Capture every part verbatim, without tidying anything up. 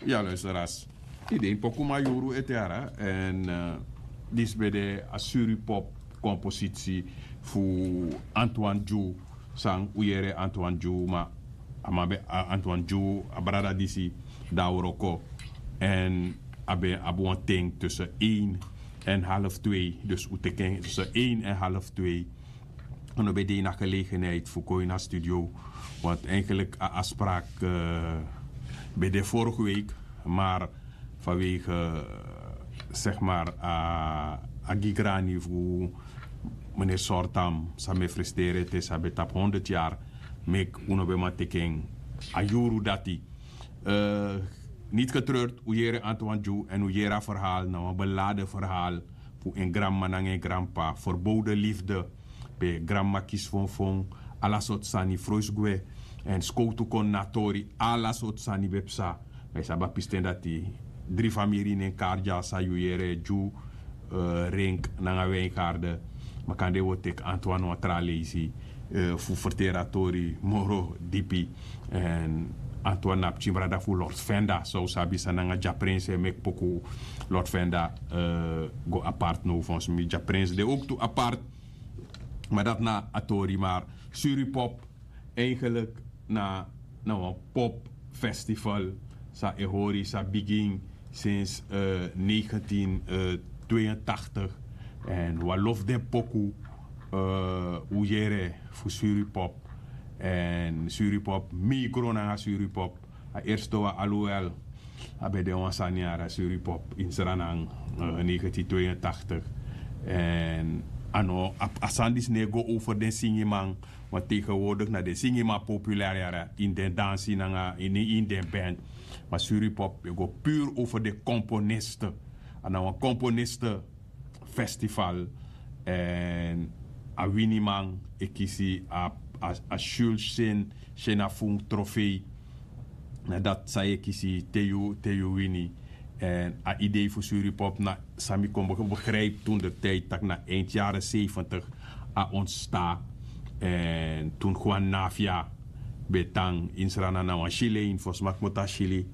Ya, luisteras. Yu de ini poku Mayuru ete yara. En disi ben de a Suripop komposisi fu Antoine Dju. San un yere Antoine Dju, ma a man ben, Antoine Dju, a brada disi, dan a wroko. En a ben abi wan ten tussen één en half twee. Dus un teken tussen één en half twee. En un ben de ini a gelegenheid fu kon ini a studio. Want eigenlijk a afspraak ben de vorige week. Maar vanwege, zeg maar, a gigrani fu meneer Sortam, san mi e frusteri ete, san ben tapu honderd yari, meki un no ben man teken a yuru dati. Niet getreurd, un yere Antoine Dju en un yere a verhaal, na wan beladen verhaal fu en granmama nanga en granpapa, verboden liefde. Pe granmama kisi fonfon, ala sortu sani, froisi gwe, en skowtu kon na tori, ala sortu sani ben psa. Ma yu sabi a pisten dati, dri famiri ini en kari dya, san yu yere, Dju, Renk nanga Wijngaarden. Ma kande wi o teki Antoine wan tra leisi fu ferteri a tori moro dipi. En Antoine na pikin brada fu Lord Venda, san un sabi, san nanga Dya Prince e meki poku. Lord Venda go apart now, volgens mi Dya Prince de ook tu apart. Ma dati na a tori, maar Suripop eigenlijk na, na wan popfestival san e hori, san bigin sinds negentien tweeëntachtig. En wan lof den poku un yere fu Suripop. En Suripop, mi gro nanga Suripop. A eerste wan, alhoewel a ben de wan sani yara, Suripop in Sranan, negentien tweeëntachtig. En a no, a sani disi no e go over den singiman. Want tegenwoordig na den singiman populair yara, in den dansi nanga in, in den band. Maar Suripop e go puur over de componisten. A na wan componisten festival. En a winiman e kisi a, a, a Jules Sen, Senafun trofee. Na dati san yu e kisi te yu, te yu wini. En a idee fu Suripop na san mi kon begrijp toen de tijd, tak' na eind jaren zeventig a ontsta. En toen Juan Navia ben tan in Sranan, na wan Chileen, volgens mi a kmoto na Chili.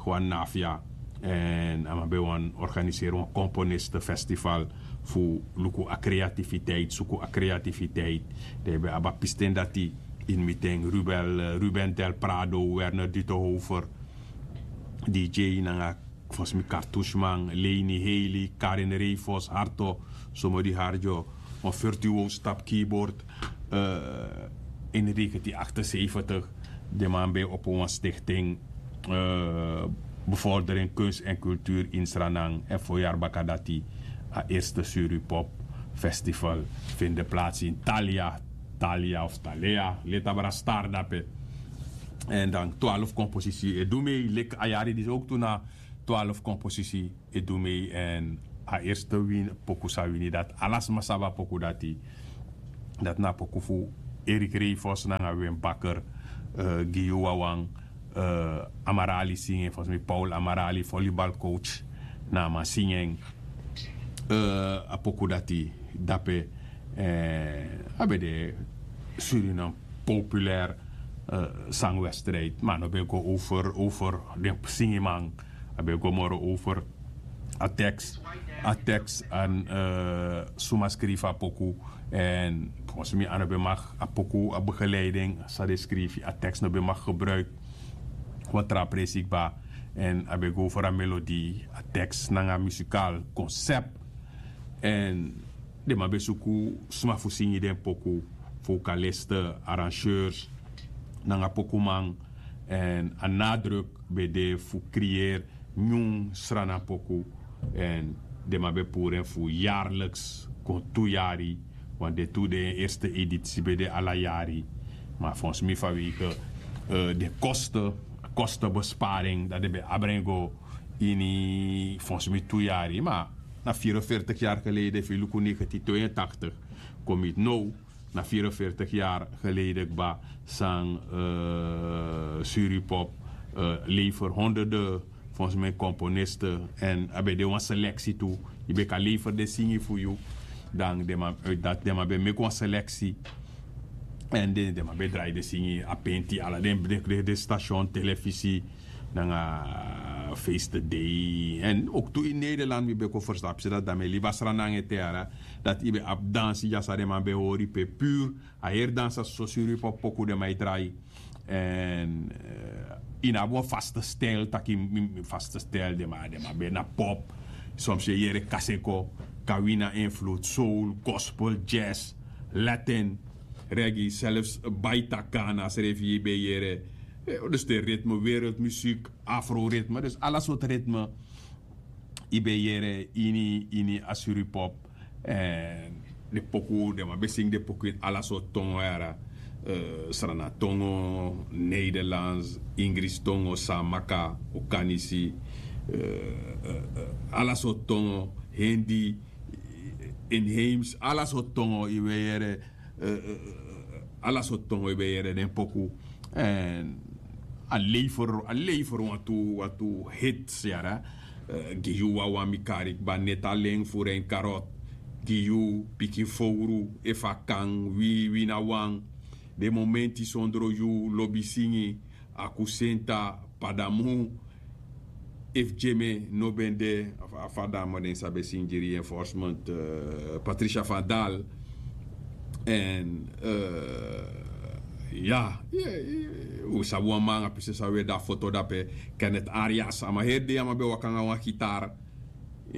Juan Navia. En a man ben wani organiseri wan componisten festival fu luku a creativiteit, suku a creativiteit. Dan yu ben abi a pisten dati ini mi ten, Ruben, Ruben Del Prado, Werner Dutenhover, D J nanga, volgens mi, Cartoucheman, Leni Heli, Karin Reifos, Harto, Somodi Harjo, wan virtuoos tapu keyboard. In negentien achtenzeventig, den man ben opo wan stichting, Bevordering Kunst en Cultuur in Sranan. En voorjaar baka dati a eerste Suripop Festival vind plaats in Thalia, Thalia of Thalea, leti abra star dape. En dan twaalf compositie e du mee, leki a yari disi ook tu na twaalf compositie e du mee. En a eerste win, poku san wini, dati ala sma sabi a poku dati. Dati na a poku fu Erik Reifos nanga Wim Bakker, gi yu wawan, Amarali singi en, volgens mi Paul Amarali, volleybalcoach, na a man singi en. A poku dati dape, a ben de Suriname populair sangwedstrijd, ma a no ben go over, over den singiman. A ben go moro over a tekst, a tekst en suma skrifi a poku. En volgens mi a no ben mag a poku, a begeleiding san den skrifi, a tekst no ben mag gebruik wan tra presi kba. En a ben go over a melodie, a tekst nanga muzikaal concept. En den man ben suku sma fu singi den poku, vocalisten, arrangeurs nanga pokuman. En a nadruk ben de fu creëer nyun Sranan poku. En den man ben puru en fu jaarlijks kon tu yari. Want den tu, den eerste editie ben de ala yari. Ma volgens mi vanwege den kosten, kostenbesparing, dati den ben abi en go ini, volgens mi, tu yari. Ma na vierenveertig jaar geleden, fu luku negentien tweeëntachtig kon mi now, na vierenveertig jaar geleden kba, san Suripop lever honderden, volgens mi, componisten. En a ben de wan selectie tu. Yu ben kan lever den singi fu yu. Dan den man, uit dati den man ben meki wan selectie. En den, den man ben drai den singi, a penti, ala den, den, den, den station, televisie, nanga feeste dei. En ook tu in Nederland mi ben kon verstap se dat dan mi libi a sra nanga ete yara, dat i ben abi dansi dya san den man ben hori pe pur a heri dansi a so suri pop poku den man e drai. En ini abi wan vaste stijl taki mi vaste stijl den man den man ben na pop. Soms yu e yere kaseko, kawina invloed, soul, gospel, jazz, latin, reggae, zelfs baita kana srefi yu ben yere. Dus de ritme, wereldmuziek, afroritme, dus ala soort ritme. Yu ben yere ini ini a suripop. En de poku den man ben singi de poku ini ala sortu tongo yara. Srana tongo, nederlands, ingris tongo, samaka, okanisi, ala sortu tongo, hindi, inheems, ala sortu tongo yu ben yere. Ala sortu tongo yu ben yere den poku. En a lever a lever wantu wantu hits yara. Gi yu wawan mi kari kba neti a len fu ren karot. Gi yu pikin fowru efu a kan wi wi na wan. Den momenti sondro yu lobi singi, akusenta, padamu. Efu jeme no ben de, a fa a dama den sabi e singi gi reinforcement, patricia van dal. En ya, un sabi wan man a pisi san un e de a foto dape, kenneth arias a man heri dei a man ben waka nanga wan gitar.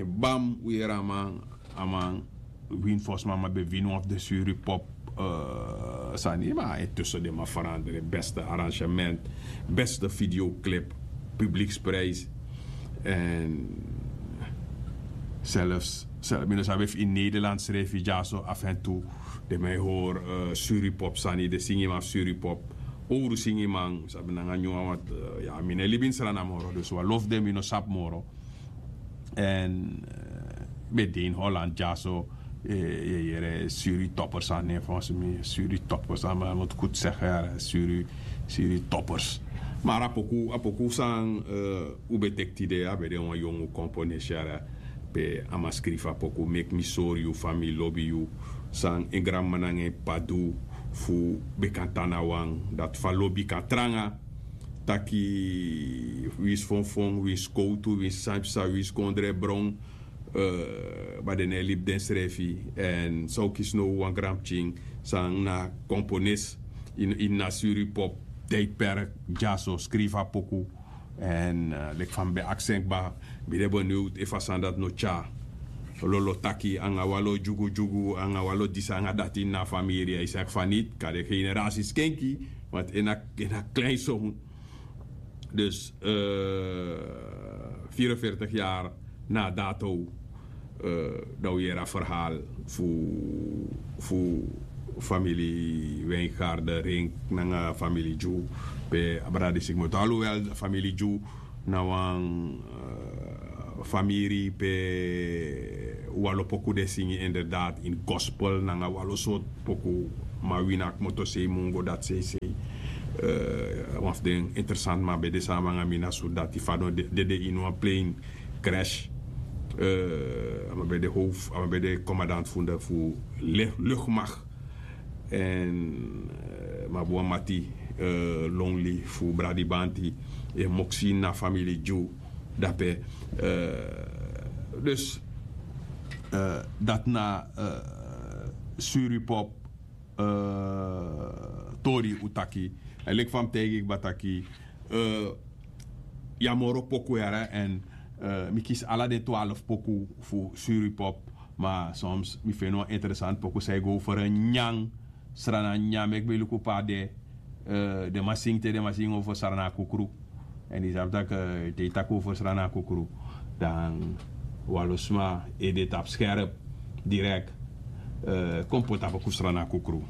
Bam un yere a man, a man win fosi man a man ben win wan fu den suri pop sani ma intussen den man veranderen beste arrangement, beste videoclip, publieksprijs. En zelfs mi no sabi efu in nederland srefi dyaso af en tu den man e hori suri pop sani den singi man fu suri pop. Owru singi man sabi nanga nyun wan want ya mi no e libi ini srana moro dus wan lofu den mi no sabi moro. En ben de in holland dyaso. Yere suri toppers an ne fonsi mi suri toppers an man mut kut segi yara suri suri toppers. Mara a poku a poku san un ben teki tide a ben de wan yongu komponesi yara. Pe a man skrifi a poku meki mi sori yu fa mi lobi yu, san en granmama nanga en p'pa du fu ben kan tan na wan dati fa lobi kan tranga. Taki winsi fonfon winsi kowtu winsi san psa winsi kon dre bron. Ma den no e libi densrefi. Èn san un kisi now wan granpikin san na kompones ini a suri pop, tijdperk dyaso skrifi a poku. Èn leki fa mi ben aksi en kba, mi de beniwd efu a sani dati no tyari lolo taki anga wan lo dyugudyugu anga wan lo disi anga dati ini a famiri a e saki fa niti kari en generasi skenki. Want en na klein son. Dus vierenveertig yari na a dato dan un yere a ferhal fu fu famili wen garde ring nanga famili dyu. Pe a brada disi kmoto aluwel famili dyu na wan famiri pe walo poku de singi inderdaad ini gospel nanga walo sortu poku. Ma wini a kmoto sei mungo dati seisei. Wan fu den interesant man ben de sama nanga mi na surdati fadon dede ini wan plein crash. A man ben de hof a man ben de komadant fu luchtmacht. En mabuamati lonely fu bradibanti e moksi na famili dyu dape. Dus dat na suripop tori un taki. En leki fa mi taigi kba taki ya moro poku yara en mi kisi ala den twaalf poku fu suripop. Ma soms mi feni wan interesant poku san e go over nyan srana nyan meki mi luku pe a de. Den man singi te den man singi over srana kukru. En di sabi tak' te i taki over srana kukru dan walo sma ede tapu skerp direk. Kon poti a poku srana kukru.